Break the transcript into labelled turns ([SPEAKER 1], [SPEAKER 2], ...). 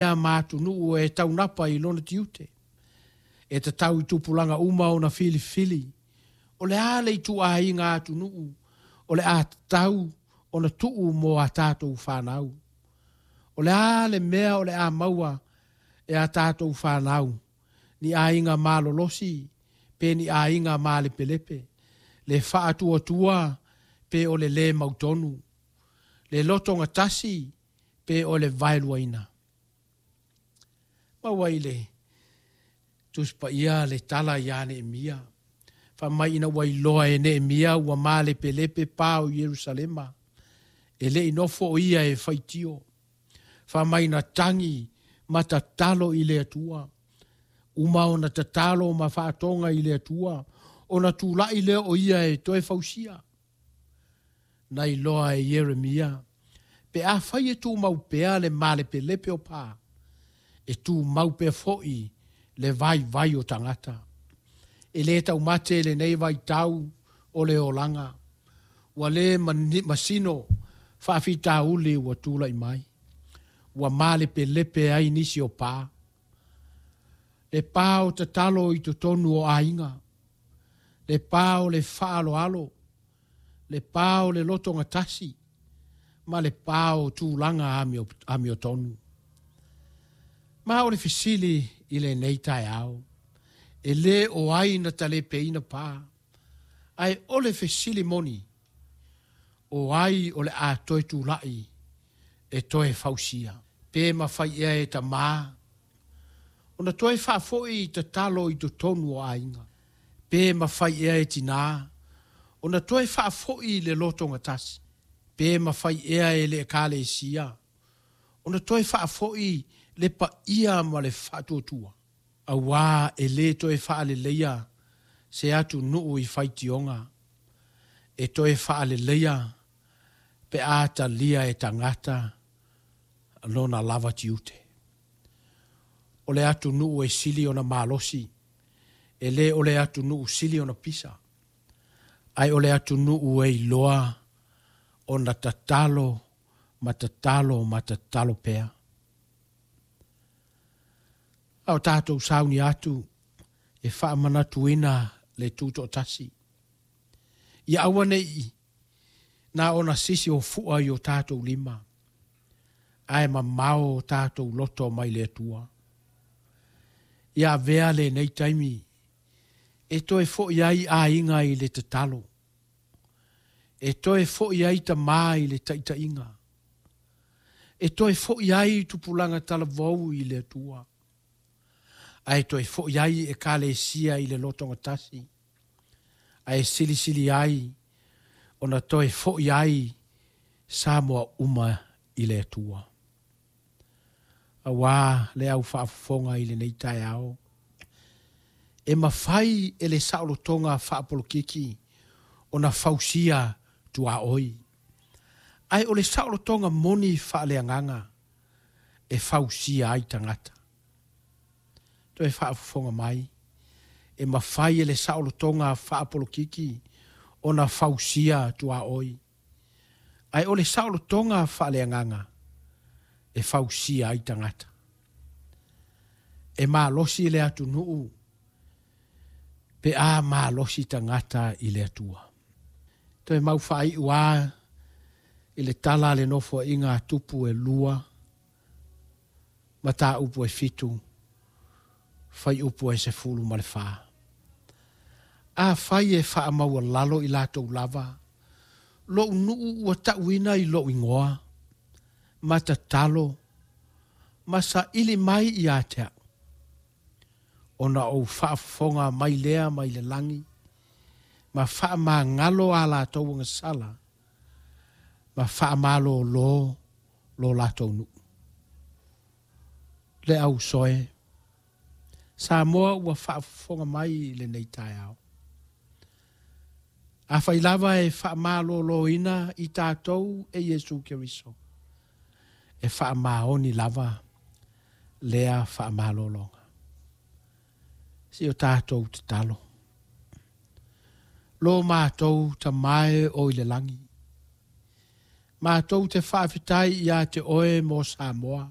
[SPEAKER 1] ma atunuu e taunapa i lona tiute. E tatau i tupulaga uma ona filifili o le a le ituaiga atunuu o le a tatau ona tuu mo a tatou fanau. O le a le mea o le a maua e a tatou fanau, ni aiga malolosi pe ni aiga malepelepe, le faatuatua pe o le lē mautonu, le lotogatasi pe o le vaeluaina. Maua i le Tusi Paia le tala ia Neemia, fai mai ina ua iloa e Neemia ua malepelepe pa o Ierusalema, e le i nofo o ia e faitio. Fai mai na tagi ma tatalo i le Atua. Uma ona tatalo ma faatoga i le Atua, ona tulai lea o ia e toe fausia. Na iloa e Ieremia, pe afai e tumau pea le malepelepe o pa, e tumau pea foi le vaivai o tagata. E lē taumate lenei vaitau o le olaga, ua lē masino faafitauli ua tulai mai, ua malepelepe ai nisi o pa. Le pa o tatalo i totonu o aiga, le pa o le faaaloalo, le pa o le lotogatasi, ma le pa o tulaga amiotonu. Ma o le fesili i lenei taeao, e lē o ai na talepeina pa, ae o le fesili moni, o ai o le a toe tulai e toe fausia? Pe mafai ea e tamā ona toe faafoi tatalo i totonu o aiga? Pe mafai ea e tinā ona toe faafoi le lotogatasi? Pe mafai ea e le Ekalesia ona toe faafoi le paia ma le faatuatua? Auā e lē toe faaleleia se atunuu i faitioga, e toe faaleleia pe a talia e tagata lona lava tiute. O le atunuu e sili ona malosi, e lē o le atunuu sili ona pisa, ae o le atunuu e iloa ona tatalo ma tatalo ma tatalo pea. A o tatou sauni atu e faamanatuina le tutoatasi, ia aua ne i na ona sisi o fua i o tatou lima, ae mamao o tatou loto mai le Atua. Ia avea lenei taimi e toe foi ai aiga i le tatalo, e toe foi ai tamā i le taitaiga, e toe foi ai tupulaga talavou i le Atua, ae toe foi ai Ekalesia i le lotogatasi, ae silisili ai ona toe foi ai Samoa uma i le Atua. Auā le au faafofoga i lenei taeao, e mafai e le saolotoga faapolokiki ona fausia tuaoi, ae o le saolotoga moni faaleagaga e fausia ai tagata. Toe faafofoga mai, e mafai e le saolotoga faapolokiki ona fausia tuaoi, ae o le saolotoga faaleagaga e fausia ai tagata. E malosi le atunuu pe a malosi tagata i le Atua. Toe mau faaiu a i le tala a le nofoaiga a Tupu e 2, mataupu e 7, faiupu e 14. Afai e faamaualalo i latou lava, lou nuu ua tauina i lou igoa, ma tatalo, ma saili mai ia te au, ona ou faafofoga mai lea mai le lagi, ma faamagalo a latou agasala, ma faamalōlō lo latou nuu. Le au soe, Samoa ua faafofoga mai i lenei taeao. Afai lava e faamalōlōina i tatou e Iesu Keriso, e faamaoni lava lea faamalōlōga. Si o tatou tatalo. Lo mātou Tama e o i le lagi, mātou te faafetai ia te oe mo Samoa.